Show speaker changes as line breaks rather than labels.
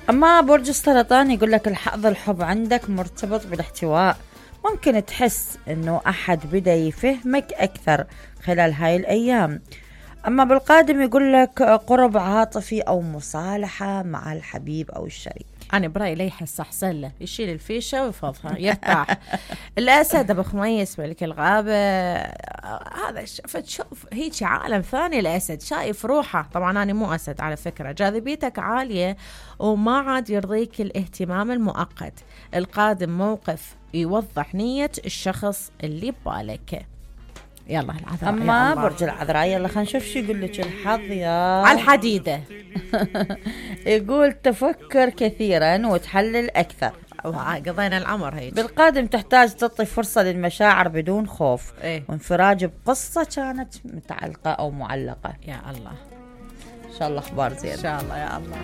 اما برج السرطان يقول لك الحظ الحب عندك مرتبط بالاحتواء، ممكن تحس انه احد بدا يفهمك اكثر خلال هاي الايام. اما بالقادم يقول لك قرب عاطفي او مصالحة مع الحبيب او الشريك.
أنا برأيي لا يحس أحسن له يشيل الفيشة ويفضها يرتاح. الأسد أبو خميس ملك الغابة، هذا شوف هيك عالم ثاني. الأسد شايف روحه، طبعا أنا مو أسد على فكرة، جاذبيتك عالية وما عاد يرضيك الاهتمام المؤقت. القادم موقف يوضح نية الشخص اللي ببالك. يلا العذراء.
اما برج العذراء يلا خلينا نشوف شو يقول لك الحظ يا
على الحديدة.
يقول تفكر كثيرا وتحلل اكثر.
قضينا العمر هيك.
بالقادم تحتاج تعطي فرصة للمشاعر بدون خوف وانفراج بقصة كانت متعلقة او معلقة.
يا الله
ان شاء الله اخبار زين
ان شاء الله يا الله.